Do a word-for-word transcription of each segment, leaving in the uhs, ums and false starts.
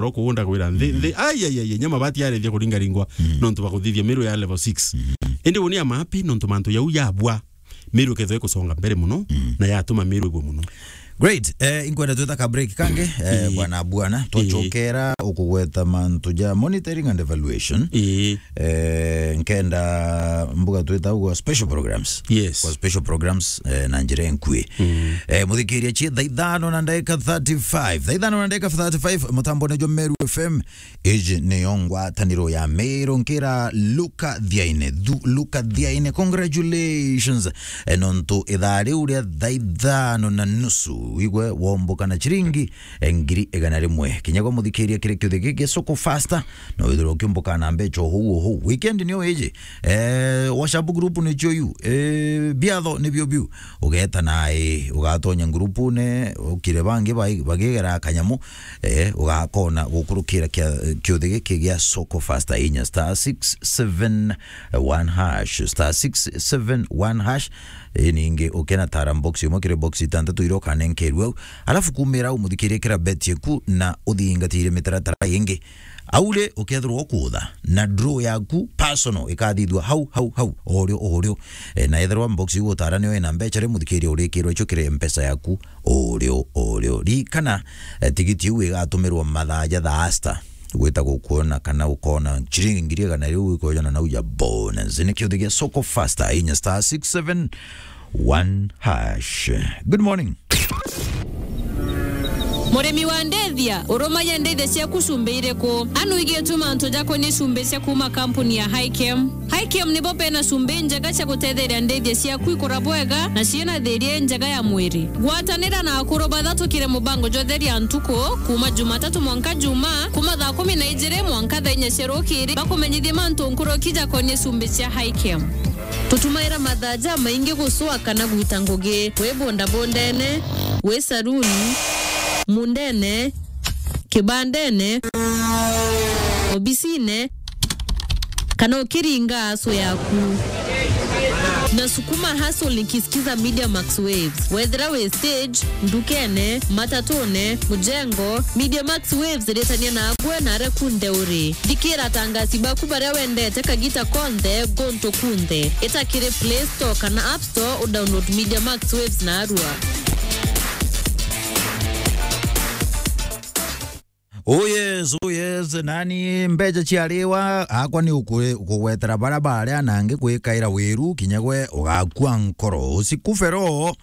ro kuunda gwira nthi, nthi, ai, ai, ai, nyama bati yarethia kuringaringwa, nontu bakuthithia Meru ya level six. Indi uni ama happy nontu mantu jau yabwa, Meru ikethwa ikusonga mbere muno, na yatuma Meru ibwe muno. Great. Eh, inkwenda twita ka break kangi, eh, bwana, bwana, twachokera ukugweta mantu ja monitoring and evaluation. Ii. Eh, nkenda mbuga twita ugwa special programs. Yes. Kwa special programs, eh, na njira enkui. Eh, muthikiria chi thaa ithano na ndagika thirty-five. Thaa ithano na ndagika thirty-five, mutambone jo Meru F M. Iji niyo ngwataniro ya Meru nkira Luka Thiaine. Thu-, Luka Thiaine, congratulations. Eh, nontu ithaa riu ria thaa ithano na nusu, wigwe womboka na chiringi, eh, ngiri igana rimwe. Kinya gwa muthikiria kiri kiuthi giki gia Soko Faster, no withirwa ukiumbuka na mbecha uhuu uhuu. Weekend niyo iji. Eh, WhatsApp group nicio iu. Eh, biatho nibio biu. Ugeta nae, ugatonya groupune, ukire bangi bai-, bagigera kanyamu, eh, ugakona gukurukira kia, kiuthi giki gia Soko Faster inya star six seven one hash, star six seven one hash. Eh, ningi ukena tara box imwe kiri box itantatu iria ukanenkerua au. Alafu kumira au muthikirie kira bet yeku na uthingatire mitaratara ingi. Au ri, ukethirwa ukutha na draw yaku personal ikathithua hau, hau, hau, o rio, o rio. Eh, na ethirwa box iu utara niyo ina mbecha ri, muthikiria urikirwa icio kiri mpesa yaku o rio, o rio. Ririkana, eh, tigiti iu igatumirwa mathaa ja thaa sita. Gwita gukuona kana ukona chiringi ngiri igana riu ikwejana nau ja bonus. Ni kiuthi gia Soko Faster, inya star six seven one hash. Good morning. Murimi wa ndithia, urumagia ndithia ciaku cumbi iriku? Anu igituma antu jakonie cumbi cia kuma kampuni ya Hikem. Hikem nibo bena cumbi njega cia gutetheria ndithia ciaku ikura bwega na ciina thiria njega ya mwiri. Gwatanira na akuru bathatukire mubango jwa Theria Ntuku, kuma Jumatatu mwanka Juma, kuma thaa kumi na ijiri mwanka thaa inya cia rukiri, bakumenyithie mantu nkuruki jakonie cumbi cia Hikem. Tutumaira mathaa jamaingi gucua kana gwita ngugi, wi bondabondene, wi saruni, mundene, kibandene, obisine, kana ukiringa hustle yaku. Na sukuma hustle nikisikiza Media Max Waves. Wethira wi stage, ndukene, matatune, mujengo, Media Max Waves iritania na agwe na aria kunthe uri. Thikira atangasi baku baria wendete kagita konthe, guntu kunthe. Ita kiri Play Store kana App Store udownload Media Max Waves narua. Oh yes, oh yes, nani mbecha ciariwa, akwa ni uku-, ukugwetera bara baria nangi kwikaira wiru, kinya gwe ugakua nkoro. Usikufe roho,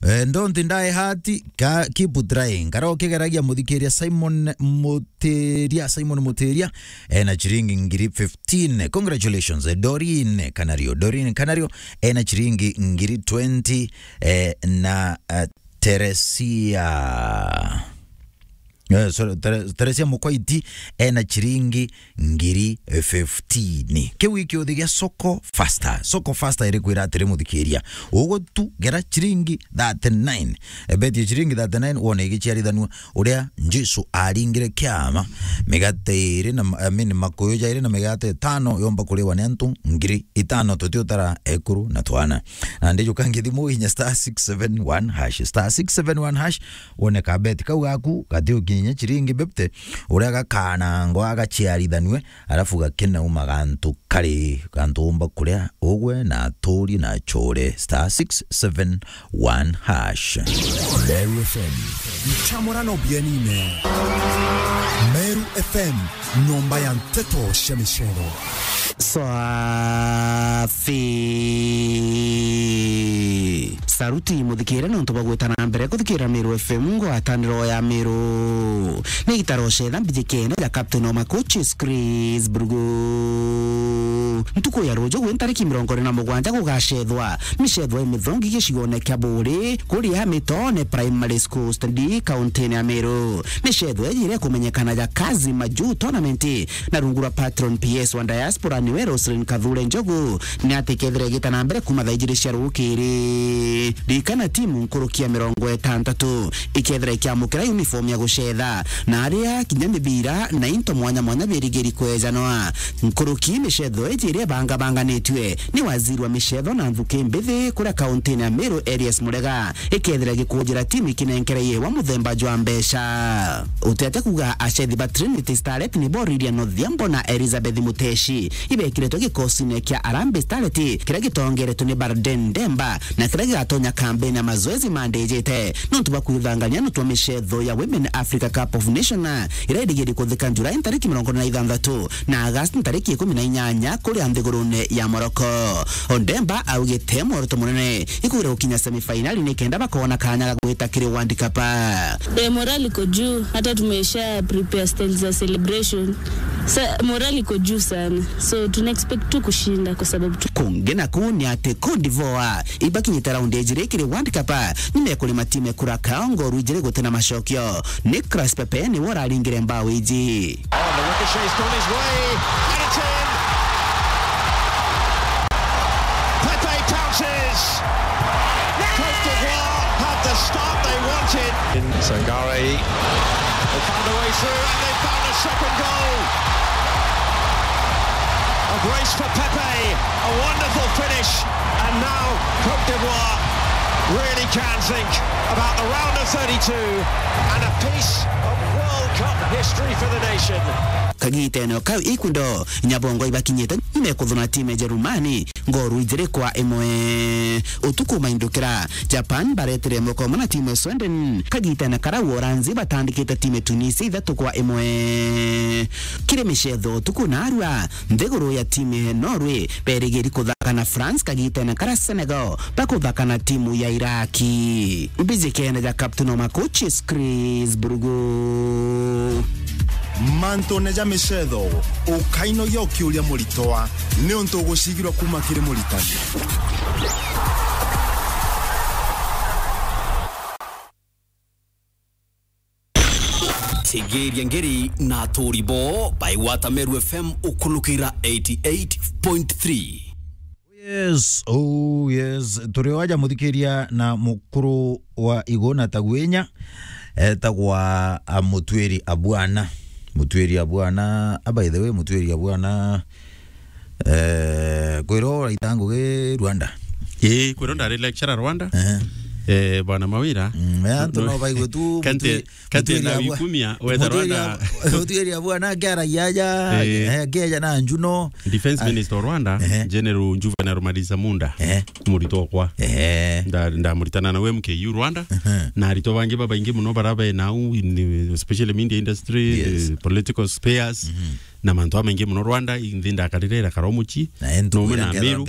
eh, don't die heart, ka-, keep trying. Kara ukigeragia muthikiria Simon Mutiria, Simon Mutiria, ena chiringi ngiri fifteen. Congratulations, eh, Doreen Kanario, Doreen Kanario, ena chiringi ngiri twenty, eh, na, eh, Teresia. Eh, sorry, Tere-, Teresia Mukoiti ena chiringi ngiri fifteen. Kiu i kiuthi gia Soko Faster. Soko Faster irikwira atiri, muthikiria, ugu tu gera chiringi thirty-nine. Ebetie chiringi thirty-nine, wone igiciarithanua uria Jesu aringire kiama. Migate iri na ma-, I mean, makuyu jairi na migate itano yomba kuriwa ni antu ngiri itano, tutiutara ekuru na twana. Na ndijuka ngithimu inya star six seven one hash, star six seven one hash, wone ka bet kau gaku gatiukinya chiringi fifty, uria gakanangwa gaciarithanue, alafu gakinauma gantu kari, gantu umba kuria ugwe na aturi na achure, star six seven one hash. Meru F M. Nchamurano bienine. Meru F M, nyomba ya nteto cia micero. Swafi. Saruti muthikire nontu bwa gwita na mbere kuthikira Meru F M, ngwataniro ya Meru. Ni gitaro cetha mbijikene ja Captain Oma Coaches Chris Burgu. Ntuku ya ruju gwi ntariki mirongo iri na mugwanja gugacethwa micethwa imithongi gicigone kia Buri, kuria Mitone Primary School Stand, kauntine ya Meru. Micethwa iji iria ikumenyekana ja Kazi Majuu Tournament, na rungu rwa patron P S wa diaspora niwe Roselyn Kathure Njogu, ni ati kethira igita na mbere kuma thaa ijiri cia rukiri. Ririkana timu nkuruki ya mirongo itantatu ikethira ikiamukira uniform ya gucetha, na aria kinya mibira na into mwanya mwanya birigiri kwejanwa. Nkuruki micetho iji iria ibangabanganitue ni waziri wa micetho na nthuki mbithi kuria kauntini ya Meru, Elias Murega, ikethira gikunjira timu ikinenkera ihewa muthemba jwa mbeca. Utiate kuuga acethi ba Trinity Starlet ni Boriria Nothiambo na Elizabeth Muteshi ibekiritwe gikosine kia Harambee Starlet kiria gitongeretwe ni Barden Demba, na kiria gigatonya kambeni ya mazoezi mandijite nontu bwa kwithangania nontu bwa micetho ya Women Africa Cup of Nations iria irigiri kuthika Julai ntariki mirongo iri na ithanthatu na August ntariki ikumi na inyanya kuria nthigurune ya Morocco. Odemba augite mworoto munene ikwira gukinya semifinali ni kenda bakona kanya ga gwita kiri World Cup. Eh, morali iko juu, hata tumesha prepare stage za celebration. Sa, morali iko juu sana. So, tuna expect tu kushinda kwa sababu tu- Kungi naku ni ati Cote d'Ivoire ibakinyite raundi ya ijiri kiri World Cup, nyuma ya kurima timu ya Curacao ngoru ijiri gutina macokio. Nicolas Pepe niwe uraringire mbao iji. Oh, the ricochet's gone his way, and it's in! Pepe pounces! Cote d'Ivoire have the start they wanted. Sangare. They found a way through, and they found a second goal. A brace for Pepe, a wonderful finish, and now Cote d'Ivoire really can think about the round of thirty-two and a piece of World Cup history for the nation. Kagitene o kau Ecuador, Nyabongo ibakinyite nyuma ya kuthuna timu ya Jerumani ngoru ijiri kwa imwe. Utuku maindukira, Japan baretire moko mana timu ya Sweden. Kagitene karau Uholanzi batandikite timu ya Tunisia ithatu kwa imwe. Kiri micetho utuku narua, nthiguru ya timu ya Norway berigiri kuthaka na France kagitene kara Senegal bakuthaka na timu ya Iraki. Mbijikene ja captain wa ma coaches Chris Brugo. Mantune ja micetho, ukainogia ukiuria muritwa, niuntu ugucigirwa kuma kiri muritani. Tegeria ngeri na aturi bo baigwata Meru F M ukulukira eighty eight point three. Yes, oh yes. Turi o aja muthikiria na mukuru wa Iguna Tagwenya, etagwa, a, Mutwiri Abwana. Mutwiri Abwana, a, by the way, Mutwiri Abwana, eh, kwiro uraita ngugi Rwanda? Ii, kwiro ndari lecturer Rwanda. Eh. Eh, bwana Mawira. Mm, ya, antu no baigwe tu, kanti, Mutwiri, kanti Mutwiri na Abwa-, wikumia, weta Mutwiri Rwanda. Ab-, Mutwiri Abwana akiaragia aja, eh, akiaja na Njuno. Defense Minister wa Rwanda, ehe, General Juvenal Maliza Munda, ehe, muritwa okwa. Ehe. Nda-, ndamuritana nawe M K U Rwanda, ehe, na aritwa bangi babaingi muno bara be nau in the, especially media industry, yes, the political spheres, mhm, na mantu amaingi muno Rwanda, inthi ndakarire irakara omuchi, na entu nomwe na Amiru.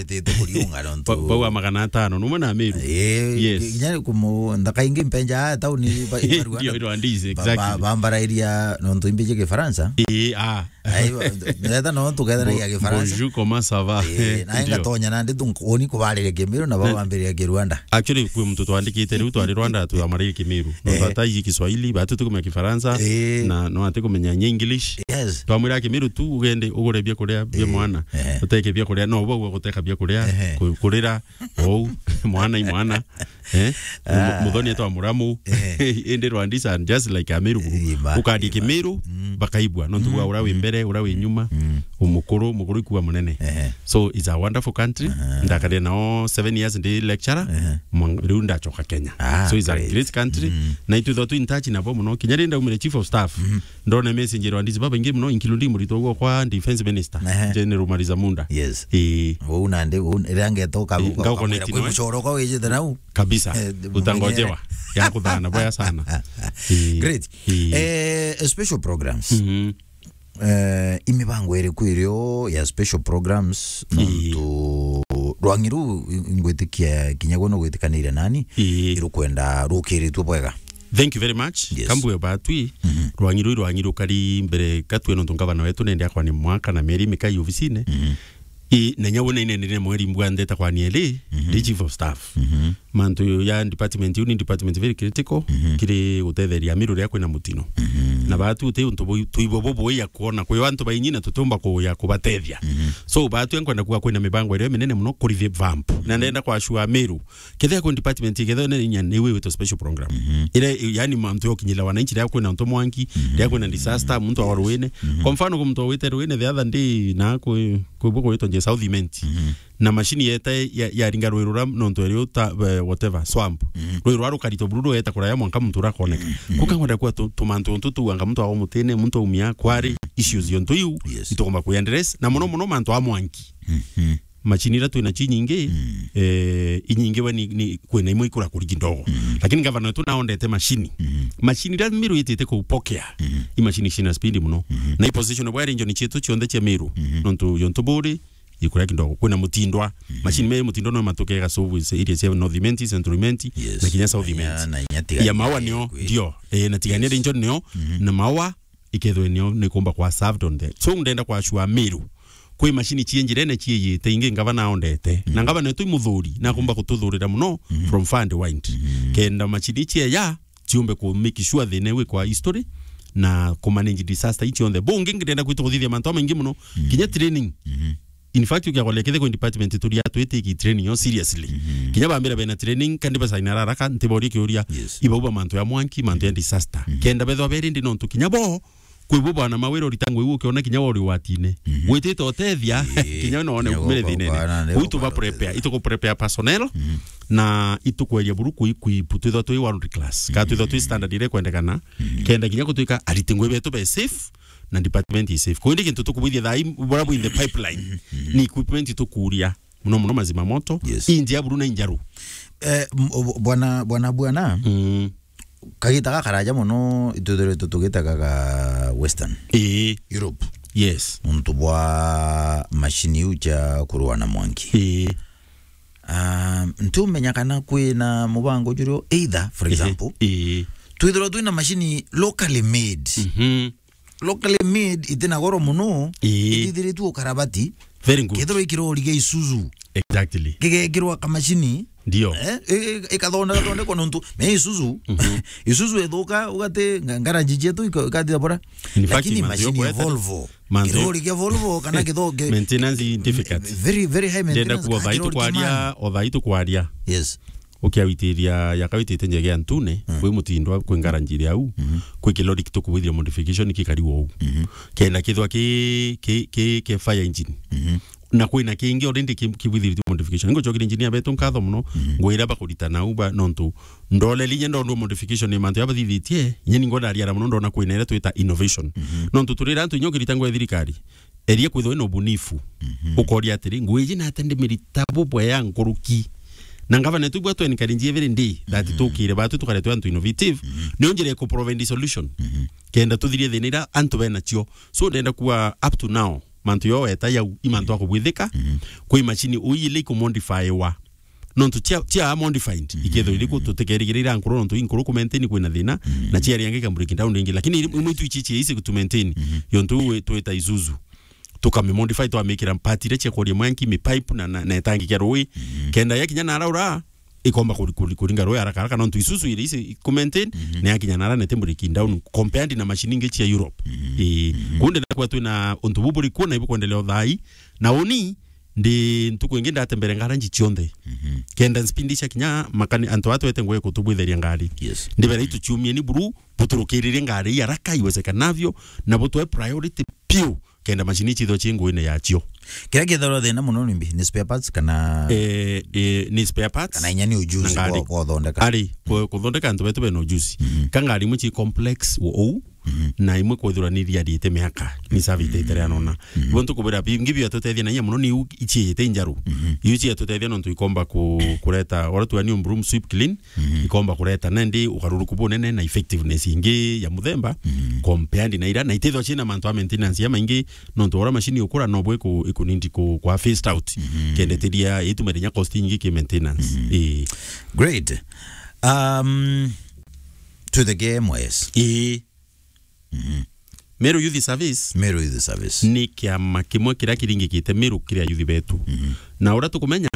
Ba-, bau a magana atano, nomwe na Amiru. Eh, yes. Kinya kumu-, nthaka ingi mpenja tauni ba-, ba Rwanda. Ndio, Rwandese, ba-, ba-, exactly, bambarairia nontu imbiji Kifaransa. Eh, ah. Ai, ba-, ndetha no tukethanagia Bo-, Kifaransa. Bonjour, comment ça va? Eh, na ndio. Ngatonya nandi tu nkoni kubariria Kimiru na bau bambiriria Kirwanda. Actually, kwi muntu twandikite riu twari Rwanda twamaririe Kimiru. No, eh, twataiji Kiswahili, batu tukumenya Kifaransa, eh, na no ati kumenya nya English. Yes. Twamwira Kimiru tu ugende ugure bia kuria bia, eh, mwana. Eh. Uteke bia kuria, no bau guteka bia kuria, eh, ku-, kurira, ou, mwana i mwana. Eh? Ah. Mu-, muthoni etwa muramu. Eh. Indi Rwandese are just like Amiru. Eh, ma-, ukandia Kimiru, mm, bakaigua. Nontu bwa, mm, uria wi, mm, mbere, uria wi nyuma, mm, umukuru, mukuru ikuwa munene. Eh. So, it's a wonderful country. Aha. Ndakarire nao seven years ndi lecturer. Eh. Mwa-, riu ndachoka Kenya. Ah, so, it's a great, great country. Mm. Na itwithwa twi in touch nabo muno. Kinya ri ndaumire chief of staff. Mm. Ndona message Rwandese babaingi muno, including muritwa ugwo kwa defense minister, ehe, General Maliza Munda. Yes. Ii. Uu nandi, uu, riria ngeta uka-, ii, uka-, ngau ukamwira connect kwi nawe. Mucoro kwa wijite nau. Kabisa. Eh, utangojewa. Mumenyere. Ya kuthana boya sana. Ii. Great. Ii. Eh, special programs. Mhm. Eh, imibango iriku irio ya special programs, ii, nontu rwangi ruu ngwitikia kinya gwe no gwitikanire nani, ii, irukwenda rukiritue bwega. Thank you very much. Yes. Kambue batwi, mhm, rwangi ruu rwangi rukari mbere gatwe nontu ngavana wetu nende akwa ni mwaka na mieri mikai ofisine. Mhm. I, na nyau na inenire mweri mbwa ndeta kwa nieli, mhm, ndi chief of staff. Mhm. Mantu ya department iu ni department very critical, mhm, kiri gutetheria Meru riria kwina mutino. Mhm. Na batu uti untu bui-, tuibo bubui ya kuona kwi antu bainyi na tutiumba kuya kubatethia. Mhm. So batu nkwenda kuga kwina mibango iria minene muno kuri revamp. Na ndenda kwa sure Meru. Kethia kwi department ikethia ni inya ni witwa special program. Mhm. Ire, yani mantu yokinyira wananchi riria kwina untu mwanki, mhm, riria kwina disaster, muntu awa ruine. Mhm. Kwa mfano, kwi muntu wite ruine the other day na kwi, kwi bwo kwitwa nje South Imenti. Mhm. Na machine yeta ya, yaringa rwi rura nontu eri uta, eh, whatever, swamp. Mhm. Rwi rura rukarito buru rweta kuraya mwanka muntu urakoneka. Mhm. Kuka ngwenda kwa tu-, tumantu untu tuanga muntu awa mutine, muntu aumia, kwari issues yontu iu, yes, itugomba kwi address. Na muno muno mantu a mwanki. Mhm. Machine ira twina chi nyingi, mm, eh, inyingi we ni, ni kwina imwe ikura kurigi ndogo. Mm. Lakini gavana wetu naondete machine. Mm. Machine ira Meru itite kupokea. Mm. I machine cina speed muno. Mm. Na i position bwa region cietu cionthe cia Meru. Mm. Nontu yontu buri, ikuria kindogo. Kwina mutindwa. Mm. Machine me mutindwa no matuke ga service area cia North Imenti, Central Imenti, yes, na kinya South Imenti. Na inya, na inya Tigania ya Maua nio, kwi. Ndio. Eh, na Tigania, yes, region nio, mm, na Maua ikethwe nio nikumba kwa served on the. So ndenda kwa sure Meru kwi machine cie njirene ciiyite ingi ngavana aondete. Mm. Na ngavana wetu i muthuri, na akumba kututhurira muno, mm, from far and wide. Mm. Kenda machine cie ya ciumbe ku make sure thina iu ikwa history na ku manage disaster ici onthe. Bungi ngirenda kwitu kuthithia mantu maingi muno, mm, kinya training. Mm. In fact, ukiagoria kethia kwi department turia twitiki training yo seriously. Mm. Kinya bambira bena training, kandi basaina haraka, ntiborie kiuria, yes, ibauba mantu ya mwanki, mantu ya, mm, disaster. Mm. Kenda bethwa beri ndi nontu kinya bo, kwi bo bwana mawira uritangwe iu ukiona kinya wori watine. Mm. Witite utethia, eh, kinya no one kinya kumire thine. Gukwana, gukwana, ituku prepare, ituku prepare personnel, mm, na itukweria buru kui, kui, twithwa twi world class. Ka twithwa twi standard ire kwendekana, mm, kenda kinya gutuika ariti ngui betu be safe, na department is safe. Kwa hiyo ni kintu tukubwithia thaa ii, bora bwinthe pipeline. Mhm. Ni equipment tukuria. Muno muno mazima moto. Yes. Injia buru na injaru. Eh, m-, o-, bwana, bwana, bwana, mm, kagita gakaraja muno, ituthiritwe tugitaga ga Western, ii, Europe. Yes. Untu bwa machine iu cia kurua na mwanki. Ii. Ah, ntiumenya kana kwina mubango jurio either, for, ehe, example, ii, twithirwa twina machine locally made. Mhm. Locally made itina goro muno, ii, itithiritue ukarabati. Very good. Kethirwa ikirori gia Isuzu. Exactly. Gigekirwa kamachini. Ndio. Eh, i-, i-, ikathonda-, thondekwa nontu me Isuzu. Mhm. Isuzu ithuka, ugati nga-, garage cietu ika-, ikathira bora. In fact, lakini mantu machine ya yokwete Volvo, mantu kirori kia Volvo kana kitho-, ki-, maintenance difficult. Very, very high. Ndenda maintenance, kuwa ah, thai kirori kia tukwaria, man. O thai tukwaria. Yes. Ukiawitiria, yakawitite njege ya Ntune, mm, kwi mutindwa, kwi ngaranji iria au, mhm, kwi kilori kitukubwithia modification kikari wou. Mhm. Kenda kithwa ki, ki, ki, ki fire engine. Mhm. Na kwina kingi already ki, kibwithiritwe modification. Ningucokeria engineer betu nkatho muno, mhm, ngwira bakurita nau ba, nontu ndoleli inya ndondwa modification ni mantu ya bathithitie, inya ningo ndariara muno ndona kwina iria twita innovation. Mhm. Nontu turira antu inya ukirita ngwa ya thirikari, eria kwithwa wina ubunifu. Mhm. Ukoria atiri, ngui iji nate ndimirita bubwea nkuruki? Na ngavana tu bwa twenkarinji every day that, mhm, tukire batu tukaretwe antu innovative. Mhm. Niyo njira ya ku provide solution. Mhm. Kenda tuthirie thina ira antu benacio. So ndenda kuwa up to now, mantu yo weta yau, i mantu, mhm, akubwithika. Mhm. Kwi machine uyi ile ikumodifyiwa. Nontu cia, cia modified, mhm, ikethirwa iriku, tutikerigirira nkuru nontu inkuru ku maintain kwina thina, mhm, na ciari angi ka break down ringi. Lakini imwe tu ici cia easy to maintain, mhm, yontu we twita Isuzu. Tukami modify, twamikira part iria cia kuria mwanki, mi pipe na, na, na itangi kia rui. Mhm. Kenda yakinya naraura, ikomba kuri-, kuri-, kuringa rui haraka haraka, nontu Isuzu iri easy ku maintain, mhm, na yakinya nara nete break down compared na machine ingi cia Europe. Mhm. Ii. Mhm. Kunde na kwa twina untu buburi kuona ibu kwendelea uthai, na uni ndi ntuku ingi ndatembere ngaranji cionthe. Mhm. Kenda spindi cia kinya makani, antu aa twete ngui kutubwitheria ngari. Yes. Ndibera, mhm, ituciumie ni buru, buturukiririe ngari ii haraka iwezekanavyo, na butwe priority piu, kenda machine ici ithwe ci nguine yacio. Kiria kithagirwa thina muno ni mbi, ni spare parts kana, eh, eh, ni spare parts kana inya ni ujuzi na ngari kwa, kwa uthondeka? Ari, ku-, kuthondeka antu betu bena ujuzi. Mhm. Ka ngari imwe ci complex uu, mhm, na imwe kwithirwa ni riarite miaka, ni service iterea nona. Mhm. Ibo ntukubira bingi biatutethia na inya muno ni iu iciite injaru. Mhm. Iu ciatutethia nontu ikomba ku-, kureta, ora tuania broom sweep clean, mhm, ikomba kureta nendi ugaruruku bunene na effectiveness ingi ya muthemba, mhm, compared na ira, na itithwa ciina mantu a maintenance ya maingi, nontu ora machine ukura no bwe ku-, ikunindi ku-, kwa phased out. Mhm. Kenda itiria itumire nya cost nyingi ki maintenance. Mhm. Ii. Great. Um, twitheke M Y S. Ii. Mhm. Meru Youth Service. Meru Youth Service ni kiama kimwe kiria kiringikite Meru kiria youth betu. Mhm. Na uria tukumenya,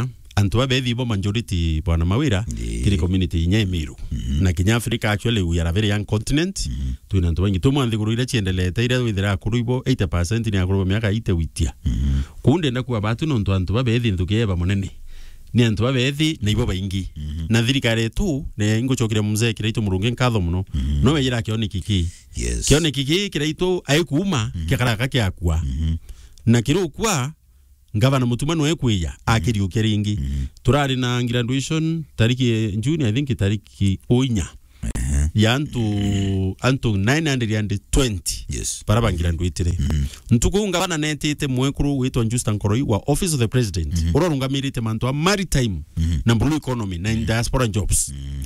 antu babethi bo majority, bwana Mawira, Ii. kiri community inya Imiru. Mhm. Na kinya Africa, actually, we are a very young continent. Mhm. Twina antu baingi. Tumwe nthiguru iria ciendelete, iria withira akuru ibo eighty percent ni akuru ba miaka eighty witia. Mhm. Kuu ndenda kuga batu nontu antu babethi nthuki eba munene. Ni antu babethi na ibo baingi. Mhm. Na thirikari yetu, ne ingucokeria mzee Kiraitu Murungi nkatho muno. Mhm. No wejira kioneki ki. Yes. Kioneki ki Kiraitu aikuuma, Mhm. kiakaraka kiakua. Mhm. Na kirukua, Ngavana Mutuma noe kwiya, akiriukia ringi. Mhm. Turari na graduation tariki ya June, I think tariki o inya. Ehe. Ya antu, antu nine hundred and twenty. Yes. Bara ba graduatire. Mhm. Ntuku ngavana netite mwekuru witwa Justa Nkoroi wa Office of the President. Mhm. Uria urungamirite mantu a maritime Mhm. na blue economy na Mhm. diaspora jobs. Mhm.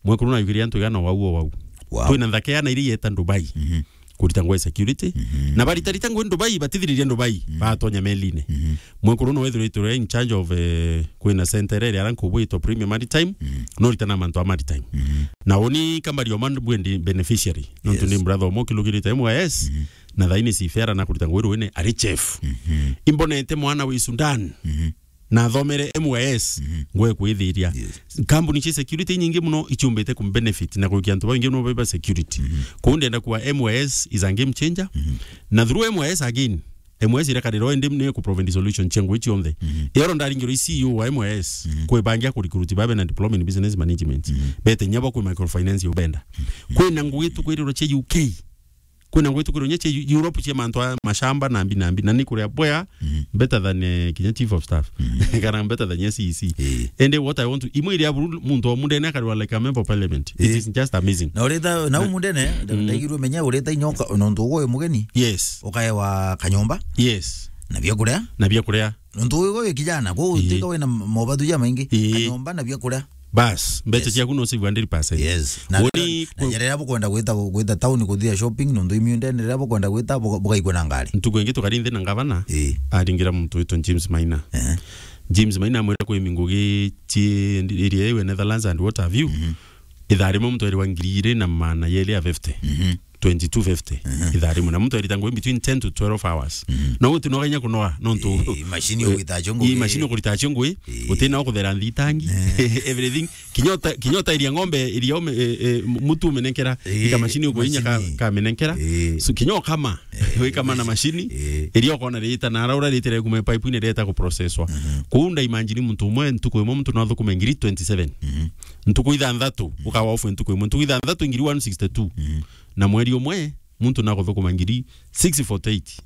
Mwekuru najukirie antu igana wau o wau. Wow. Twina nthaka ya na iria yeta Dubai. Mhm. Kurita ngwe security. Mhm. Na baritarita ngwe Dubai, batithiririe Dubai, Mhm. batonya meline. Mhm. Mwekuru no wethiritwe in charge of, eh, kwina center area ara nkubu itwa Premier Maritime, Mhm. no ritana mantu a maritime. Mhm. Na uni kama rio man bwendi beneficiary. Nontu Yes. ni brother omo kilukirite M Y S, Mhm. na thaini sifera na kurita ngwe ruine ari chef. Mhm. Imbonete mwana wi Sudan. Mhm. Na athomere M Y S, Mhm. ngwe kwithiria. Yes. Kambuni cia security nyingi muno ichumbite kumbenefit na kuikia antu baingi no beba security. Mhm. Kuu ndenda kuwa M Y S is a game changer. Mhm. Na through M Y S again, M Y S irakarira indi ni ku provide solution cia ngui cionthe. Mhm. Ero ndaringirwo i C E O wa M Y S, Mhm. kwibangia ku recruit babe na diploma in business management. Mhm. Bete nyabo kwi microfinance ubenda. Mhm. Kwina ngui tukwirirwo cia U K. Kwina ngwitukiro nya cia Europe cia mantu a mashamba na mbi na mbi, na ni kuria bwea Mhm. better than, eh, kinya chief of staff. Mhm. Kana better than C E C. Eh. And what I want to, imwe iria buru muntu o mundene akarwa like a member of parliament. It Eh. is just amazing. Na ureta, na Na umundene, Mm. ndaigirwe menya ureta inyoka, nontu ugo uyu mugeni. Yes. Ukaewa kanyomba. Yes. Na bia kuria. Na bia kuria. Nontu uyu uyu kijana, kwa Ii. utika wina mobatu ja maingi. Ii. Kanyomba na bia kuria. Bas, mbeca Yes. ciaku no save hundred percent. Yes. Na, Woni na ku- njira iria bukwenda gwita, gwita town kuthia shopping, nontu imiundene iria bukwenda gwita, buka-, bukaigua na ngari. Ntuku ingi tukari nthi na ngavana, Ii. aringira muntu witwa James Maina. Eh. James Maina amwira kwi mingugi ci iria iwe Netherlands and what have you. Mhm. Ithaa rimwe muntu airwa ngiri iri na maana yeri ya fifty. Mhm. Twenty-two fifty. Mhm. Ithaa rimwe. Na muntu airita ngui between ten to twelve hours. Mhm. Na uti no kanya kunoa, nontu Eh, machine Eh, ugwita cio ngui. Ii, machine ukurita cio ngui. Eh. Uti na ukuthera nthitangi. Eh. Everything. Kinya uta-, kinya utairia ng'ombe iria ume-, eh, eh, mutu umenekera. Eh, ika machine ugo inya ka, machine. Kamenekera. Eh. So, kinya ukama. Eh, wikama na machine. Eh. Iria ukona rita na araura rita ria kuma pipe ine reta ku processwa. Mhm. Kuu nda imagine muntu umwe ntuku imwe muntu no athukume ngiri twenty-seven. Mhm. Ntuku ithanthatu, ukawa off ntuku imwe. Ntuku ithanthatu ngiri one sixty-two. Mhm. Na mweri umwe, muntu nakuthukuma ngiri six forty-eight.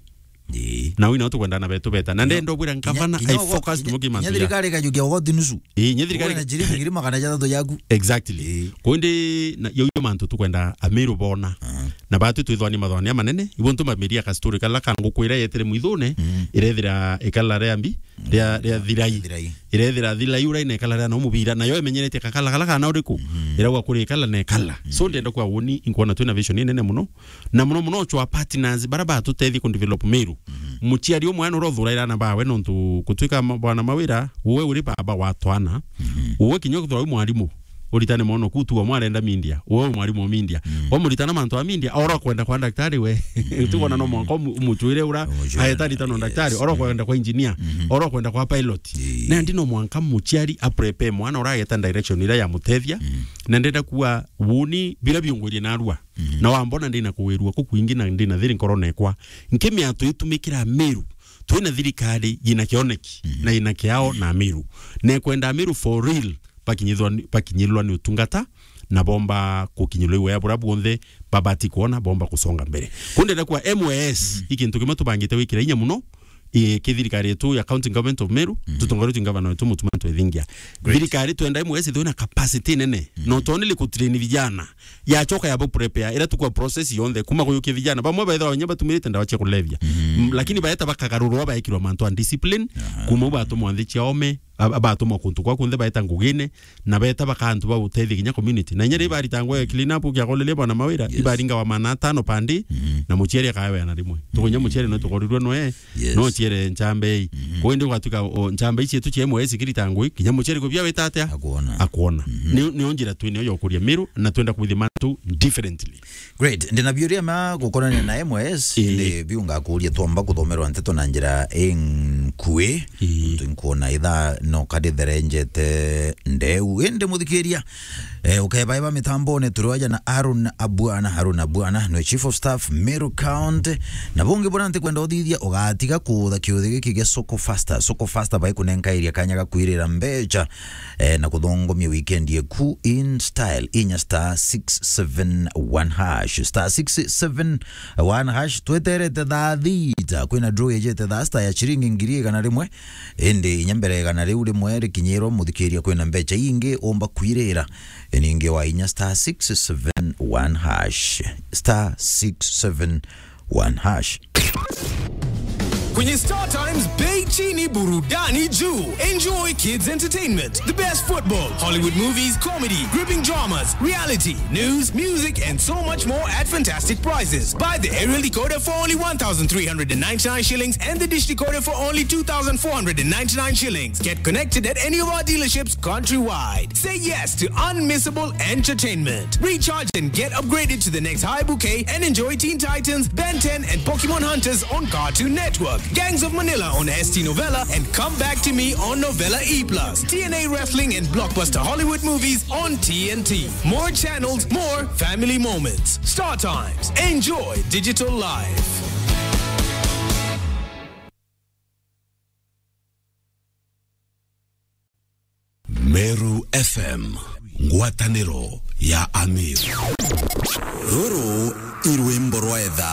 Ii. Na wina tukwenda na betu beta. Na ndenda ubwira ngavana, kinya I focus ugo-, kinya, kinya thirikari ikajukia ugoti nusu. Ii, nye thirikari Uwe na ciringi ngiri magana jathatu yaku. Exactly. Ii. Kundi na, yo, yo mantu tukwenda Amiru bona. Aha. Na batu twithwani mathwani manene, ibo ntu mamiria ka story kala kangukwira yetire mwithune, Mm. irethira ikala ria mbi, ria, ria thirai. Thirai. Irethira thirai ura ina ikala ria no mubira, nayo imenyerete kakala kala kana uriku. Mm. Iragwa kuri ikala na ikala. Mm. So ndenda kwa woni, inkwona twina vision inene muno. Na muno muno chwa partners bara batutethie ku develop Meru. Mm. Muciari umwe ano rothura irana bawe nontu kutwika ma-, bwana Mawira, uwe uri baba wa twana. Mm. Uwe kinya kuthura wi mwarimu. Uritane mono kutu wa mwarenda media. Uwe wi mwarimu wa media. Mm. Wamuritana mantu a media, ora kwenda kwa daktari we. Mm. Utikona no mwanka umu-, umutwire ura, Umutwire. Aeta ritano Yes. daktari, ora Mm. kwenda kwa engineer, Mm-hmm. ora kwenda kwa pilot. Ii. Na ndi no mwanka muciari a prepare mwana ura ageta direction ira ya mutethia. Mm. Na ndenda kuwa woni bira biungwirie narua. Mm. Na wambona ndina kuwirua kukwingi na ndina thiri nkoro nekwa. Nkimia tuitumikira Meru. Twina thirikari yina kioneki, Mm. na yina kiao na Meru. Nekwenda Meru for real. Bakinyithwa ni, bakinyilwa ni utungata, na bomba kukinyilwa iwea bura bwonthe babati kuona, bomba kusonga mbere. Kundenda kwa M Y S, Mm. i kintu kimwe tubangite wikira inya muno, i, ki thirikari yetu ya County Government of Meru, Mm. tutongoretwe ni gavana wetu Mutuma Ntwethingia. Great. Thirikari twenda M Y S ithwe na capacity nene, Mm. not only kutrain vijana, yachoka yabo prepare, ira tukwa process yonthe, kuma kuyukia vijana, bamwe baithwa banya batumirite ndawa cia kulevya. Mm. Mm, lakini baeta bakagarurwa, baekirwa mantu a discipline, Aha. kuma u batumwa nthi cia ome, Ab-, abatumwa kuntu kwa kunthe baeta ngugine, na beta baka antu ba gutethia kinya community. Na inya ri baritangwa ya clean up kia koleria bwana Mawira, Yes. ibaringa wa mana atano pandi, Mhm. na muciari akaweana rimwe. Tukunya muciari no tukorirwe noe, Yes. no ciere nchambe ii. Mhm. Kwa indi ugatuka o, nchambe ii cietu cia M Y S ikirita ngui, kinya muciari kubia wita atia? Akuona. Akuona. Mhm. Ni, ni njira twine yo kuria Meru, na twenda kumithia mantu differently. Great. Ndina biuria ma gukorania na M Y S, Ii. Ndi biu ngakuria twamba kuthomerwa nteto na njira ing-, kwi. Ii. Nontu nkwona ithaa no karitherenjete ndeu. Indi muthikiria, eh, ukebaiba mitambone turi aja na Arun Abwana. Arun Abwana nwe chief of staff Meru County. Na bungi buna ntikwenda uthithia, ugatiga kuutha kiuthi giki gia Soko Faster. Soko Faster bai kunenkairia kanya ga kwirira mbecha, eh, na kuthongomia weekend yeku in style. Inya star six seven one hash. Star six seven one hash. Tweterete thaa thita. Kwina draw yejete thaa sita ya chiringi ngiri igana rimwe. Indi inya mbere igana riu rimwe rikinyirwa muthikiria, kwina mbecha ingi umba kwirira. Ningi wa inya star six seven one hash. Star six seven one hash. Kwenye Star Times, bei chini, burudani juu. Enjoy kids entertainment, the best football, Hollywood movies, comedy, gripping dramas, reality, news, music, and so much more at fantastic prices. Buy the aerial decoder for only one thousand three hundred and ninety-nine shillings and the dish decoder for only two thousand four hundred and ninety-nine shillings. Get connected at any of our dealerships countrywide. Say yes to unmissable entertainment. Recharge and get upgraded to the next high bouquet and enjoy Teen Titans, Ben ten, and Pokemon Hunters on Cartoon Network, Gangs of Manila on S T Novella, and Come Back to Me on Novella E plus, T N A Wrestling and blockbuster Hollywood movies on T N T. More channels, more family moments. Star Times. Enjoy digital life. Meru F M, ngwataniro ya Amir. Ruru i rwimbo rwa etha.